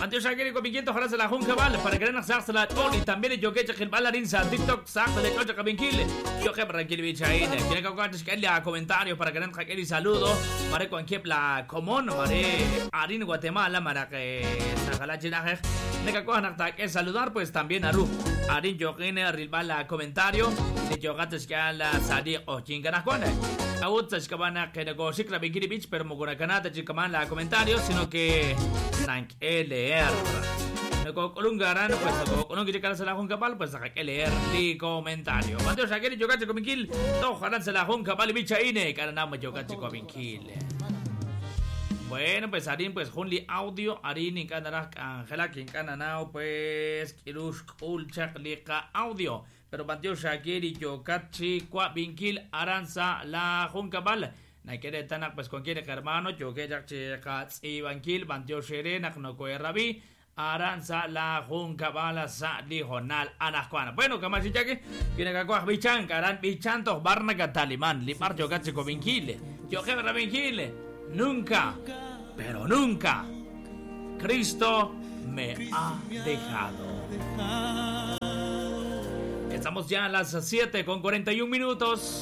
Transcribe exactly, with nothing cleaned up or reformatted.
Mateo Shakiri con quinientos se la junca vale para que no se la y también yo que el balarín sa TikTok sa de chocha kabinkil. Yo que para que bichaine. Tiene que que a comentarios para que no y saludo. Mare con la común, mare Arin Guatemala, mara que sajala chinaje. Neka saludar pues también aru. Arin yo rilbala comentario. De yo gates que la sadi o chinganascuana. Awutsa shkabana que negocio la bikini beach pero mogurakanata chikaman la comentario sino que sank L R. Kolungaran pues con que llegar a la junca pal pues hay que leer li comentario. Mateo Shakiri yo cacho cominkil, to jaran se la junca pal bicha ine, karanama yo cacho cominkil. Bueno, pues Arin pues junli audio, Arin inkanara Angela kinkananao pues kirush ulchak liqa audio. Pero Mateo Shakiri yo cachi cuabinkil aranza la junca pal. Nakere tanak pues con quiere hermano yo que ya chica ibankil Mateo Sherenak no koerrabi. Aranza la junca bala sa lijonal anascuana. Bueno, kamachichaki, viene cacuaj bichan, caran bichantos barnaca talimán, lipar yo cachico vinquile, yo jebra vinquile, nunca, pero nunca, Cristo me ha dejado. Estamos ya a las siete con cuarenta y un minutos.